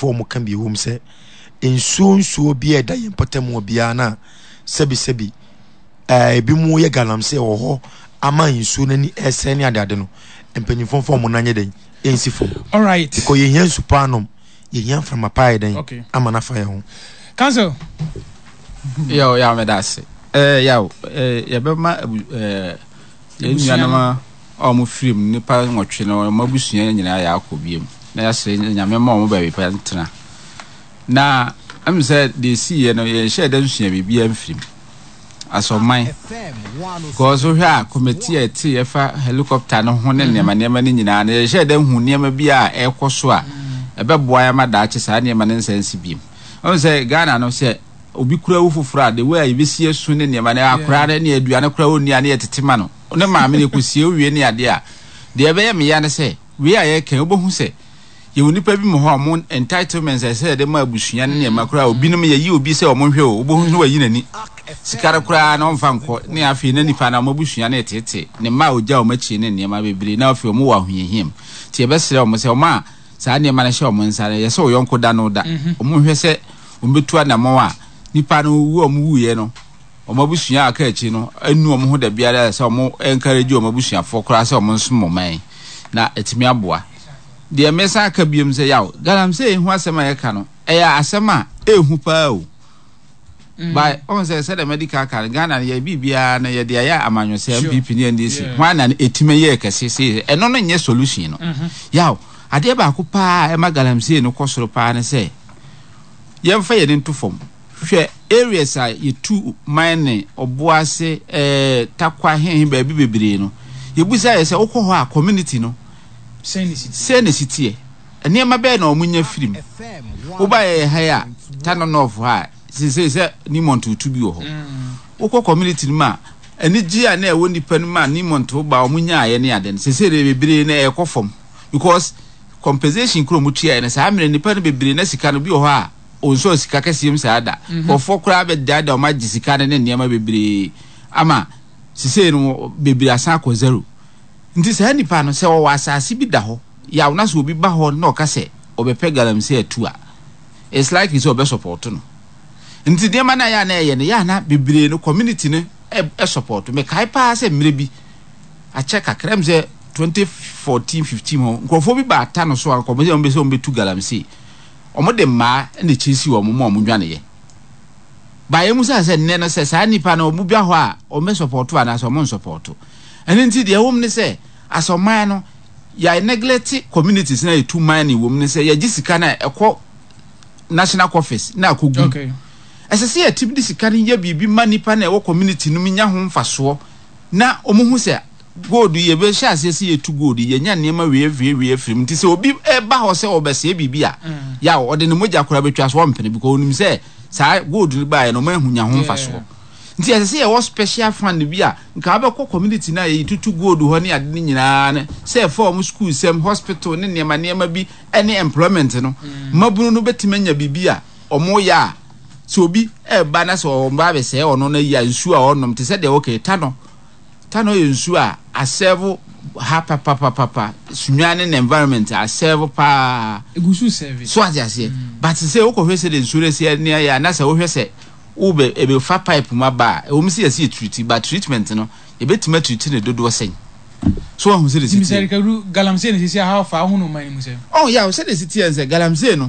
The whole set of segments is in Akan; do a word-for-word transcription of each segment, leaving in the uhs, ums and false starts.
Wɔn ka bi wɔ mu sɛ nsuo nsuo bi a ɛda yɛn mpɔtam wɔ biara na sɛbisɛbi ɛɛ ebi mu yɛ galamsey wɔ hɔ ama nsuo n'ani ɛsɛn ne adeade no, mpanyinfoɔ fɔ wɔn nan nyɛ dɛn ɛnsi fam. Alright. Because yɛhia nsu paa nom, yɛhia mframa paa yɛ dɛn Okay. ama nafa yɛn ho. Council. Yaw, yaw, meda ase. ɛɛ yaw ɛɛ yɛbɛma abu ɛɛ yɛn Abusua. Nuanom a a wɔn firi mu, nipa nwɔtwe no, wɔn abusua nyinaa yɛ akɔ biem na yɛasrɛ Nyame ma wɔn baabi pa ntena. Na ɛmu sɛ deɛ esi yɛ no, yɛnhyɛ dɛ nsua biribiara mfiri mu asɔman, because wohwɛ a, committee a ɛte yɛfa helicopter no ho ne nneɛma nneɛma no nyinaa no, yɛhyɛ dɛ hu nneɛma bi a ɛrekɔ so a ɛbɛboa yɛn ama daakye saa nneɛma no nsa nsi biem. Ɔhu sɛ Ghana no, sɛ obi kura wo foforɔ a, the way a yɛbɛsi asu ne nneɛma no, akora no ne aduane kora ɔnni a, ne yɛtete ma no ne maame no kɔsie wie ne adeɛ a, deɛ ɛbɛyɛ meya ne sɛ wei a yɛka, wobɛhu sɛ yɛwɔ nipa bi mu hɔ a ɔmo entitlements a ɛsɛ yɛde ma abusua ne nneɛma koraa, obinom yɛyi obi sɛ ɔmo nhwɛ o, wobɛhu sɛ wayi n'ani, sika no koraa na ɔmfa nkɔ ne afei na nipa na ɔmo abusua no ɛtete ne mma a ogya ɔmo akyi ne nneɛma bebree, na afei ɔmo wɔ ahohiahia mu. Nti yɛbɛsrɛ ɔmo sɛ ɔmo a saa nneɛma no hyɛ ɔmo nsa no, yɛ sɛ ɔyɔnko da no da, ɔmo nhwɛ sɛ ɔmo bɛtu anammɔn a nipa no wu a ɔmo wuyɛ no, ɔmo abusua a aka akyi no enu ɔmo ho da biara sɛ ɔmo encourage ɔmo abusuafoɔ koraa sɛ ɔmo nsom ɔman na ɛtumi aboa. Deɛ mɛsan aka biom sɛ, yaw, galamsey ho asɛm a yɛka no, ɛyɛ asɛm a ehu paa o mm. By ɔn sɛ sɛdeɛ medical ka no, Ghana no yɛ biribiara no yɛde ayɛ amanyɔsɛ. Sure. N P P ne N D C, Yeah. hwan na ɛtumi yɛ kɛse sei? Ɛno no nyɛ solution no. Yaw, adeɛ baako paa a ɛma galamsey no kɔ soro paa ne sɛ yɛmfa yɛn nto fam hwɛ areas a yɛtu mine, Ɔboase, ɛɛ Takwa, hehe, baabi bebree no, yɛbusa yɛ sɛ wokɔ hɔ a, community no sɛn ne si? Sɛ na si teɛ, nneɛma bɛyɛ na wɔn nya firim. Woba yɛ ha yi a, Tano North ha a, sese sɛ Newmont tu bi wɔ hɔ, wokɔ community no mu a, anigye a na ɛwɔ nipa no mu a Newmont ba wɔn nyaayɛ ne ade no, sese de bebree na ɛkɔ fam, because compensation kuro mu tua yɛ no saa mmerɛ nipa no bebree na sika no bi wɔ hɔ a onsɔ sika kɛseɛ mu saa da kɔfoɔ koraa bɛdaadaa wɔn agye sika no ne nneɛma bebree ama sese no bebree asan akɔ zero. Nti saa nipa no, sɛ ɔwɔ asase bi da hɔ, yaw, na sɛ obi ba hɔ na ɔka sɛ ɔbɛpɛ galamsey atu a, it's likely sɛ ɔbɛ support no. Nti nneɛma no a yɛ a na ɛyɛ no yɛ a na bebree no, community no ɛ ɛ support. Mekae paa sɛ mmerɛ bi akyɛ kakra m sɛ twenty fourteen fifteen hɔ, nkurɔfoɔ bi ba ata no so a nkɔmɔ sɛ wɔn bɛ sɛ wɔn bɛtu galamsey, wɔn de mmaa na ɛkyɛ si wɔn mu a wɔn dwaneyɛ baayɛ mu sɛ sɛ nnɛ no sɛ saa nipa no wɔn ba hɔ a, wɔn bɛ support anaasɛ wɔn nsupport. Ɛno nti deɛ ɛwɔ mu ne sɛ asɔman no yɛ neglect communities na yɛtu mining wɔ mu ne sɛ yɛgye sika no a ɛkɔ national office na akɔgu. Okay. Ɛsɛ sɛ yɛtumi de sika no yɛ biribi ma nipa na ɛwɔ community no mu nya ho mfasoɔ na wɔn ho sɛ gold yɛbɛhyɛ aseɛ sɛ yɛtu gold, yɛnya nneɛma wei wei wei afiri mu. Nti sɛ obi ɛba hɔ sɛ ɔbɛsɛe biribi a, yaw, ɔde ne mogya koraa bɛtwa so, ɔmpene, because onim sɛ saa gold no baeɛ no, ɔmo ahu nya ho mfasoɔ. Nti ɛsɛ sɛ yɛwɔ special fund bi a nka wabɛkɔ community no a yɛyi tutu gold hɔ ne ade no nyinaa no, sɛ ɛfa ɔmo school sɛm, hospital ne nneɛma nneɛma bi ne employment no, mmabunu no bɛtumi anya biribi a ɔmo yɛ a sɛ obi ɛba na sɛ ɔba abɛsɛe ɔno no yi a, nsuo a ɔnom te sɛ deɛ wɔkɛ Tano. Tano yɛ nsuo a aserve ha papapapapa, Sunyani ne environment aserve paa. Egu so serve. So ate aseɛ, but sɛ wokɔhwɛ sɛ de nsuo no asi ne ayɛ a, na sɛ wohwɛ sɛ wobɛ ɛbɛfa pipe mu aba a, ɛwɔ mu sɛ yɛsi yɛ treat, but treatment no, yɛbɛtumi atreat ne dodoɔ sɛn so wahu sɛ de si nti teɛ. Sɛ Kadu, galamsey ne sisi how far ho no man mu sɛ? Oh yeah, sɛ de si teɛ sɛ galamsey no,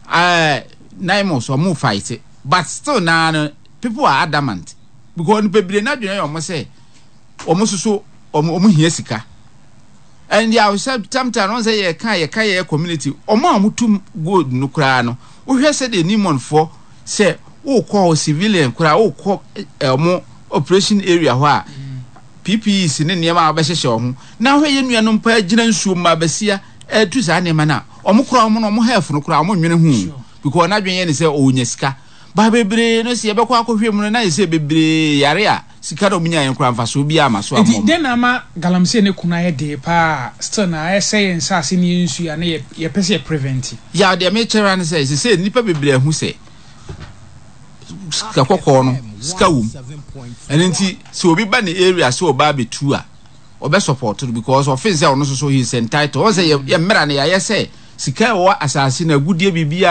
ɛɛ NAIMOS ɔmo fight, but still naa no people are adamant, because nipa bebree n'adwene yɛ ɔmo sɛ ɔmo soso ɔmo ɔmo hia sika. And yà, sɛ sometimes wɔn sɛ yɛ ka yɛ ka yɛ community, ɔmo a ɔmo tum gold no koraa no, wohwɛ sɛ de Newmont foɔ sɛ wokɔ hɔ civilian koraa, wokɔ ɛ ɔmo operation area hɔ a, P P Es ne nneɛma a wɔbɛhyehyɛ wɔn ho, na ahwɛ yɛn nuanom paa gyina nsuo mu abasia ɛtu saa nneɛma no a, ɔmo koraa ɔmo no ɔmo health no koraa ɔmo nwene ho, because n'adwene yɛ ne sɛ ɔnya sika ba bebree no sɛ yɛbɛkɔ akɔhwɛ mu no, na yɛ sɛ bebree yare a sika na ɔmo nya yɛn koraa mfasoɔ bi ama so ama nti ɔmo. Den na ama galamsey ne kono ayɛ den paa still na ayɛ sɛ yɛn nsaase ne yɛn nsuo a ne yɛ yɛpɛ sɛ yɛ prevent? Yaw, deɛ mekyerɛ ne sɛ sɛ nnipa bebree ahu sɛ sika kɔkɔɔ no, sika wom. Ɛno nti sɛ obi ba ne area sɛ ɔba abɛtu a, ɔbɛ support no, because ɔfin sɛ ɔno nso so he is entitled. Ɔn sɛ yɛ yɛ mmerɛ no yɛayɛ sɛ sika a ɛwɔ asase no, agudie biribiara.